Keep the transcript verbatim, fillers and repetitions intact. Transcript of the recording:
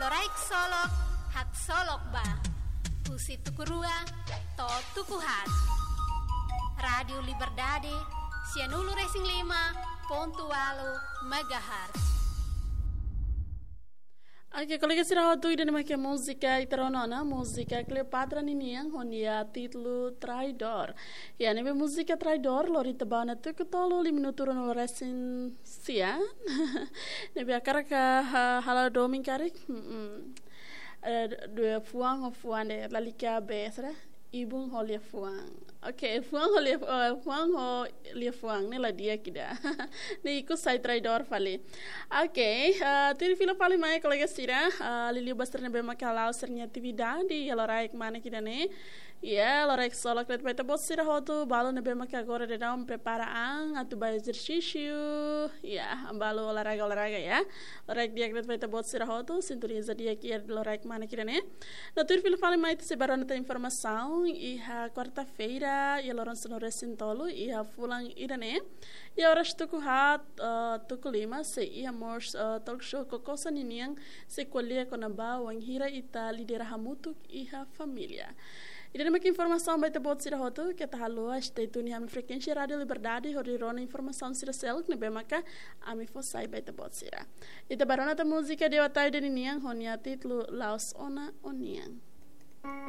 Loraik Solok, haksolok ba. Husi tuku rua to'o tuku haat. Rádiu Liberdade, sianulu-resin-lima pontu ualu megahertz. Oke, kolega sira hotu, ida-ne'e mak múzika ita rona ona, múzika Cleopatra ninian, ho nia títulu Traidór. Ya, ne'ebé múzika Traidór, lori ita ba ona tuku tolu, lima minutu ruanulu-resin-sia. Ne'ebé hakarak, ha, halo domin karik. Mm-mm. Eh, dua fuan ho fuan de'it, lalika bes, ibun ho liafuan. Oke, fuan ho lia, eh, fuan ho liafuan, ne'e la di'ak ida. Ne'e ikus sai traidór fali. Oke, eh, tuir fila fali mai kolega sira, eh, liuliu ba sira ne'ebé maka hala'o sira-nia atividade, iha loraik manek ida-ne'e. Ya, loraik solok de'it ba ita-boot sira hotu, balu ne'ebé maka agora daudaun prepara an, atu ba ezersísiu. Ya, balu olahraga, olahraga ya. Loraik di'ak de'it ba ita-boot sira hotu, sintoniza di'ak iha loraik manek ida-ne'e. No tuir fila fali mai ita sei ba rona tan informasaun, iha kuarta-feira, iha loron sanulu-resin-tolu, iha fulan ida-ne'e. Iha oras tuku haat, eh, tuku lima, sei iha mós, eh, talk show Kokosa ninian, sei ko'alia kona-ba wainhira ita lidera hamutuk iha família. Ida-ne'e mak informasaun ba ita-boot sira hotu, keta haluha stay tune iha ami frekuénsia Rádiu Liberdade, hodi rona informasaun sira seluk ne'ebé maka ami fó sai ba ita-boot sira. Ita ba rona tan múzika Dewa Taide ninian, ho nia títulu La'ós Ona Ó-nian.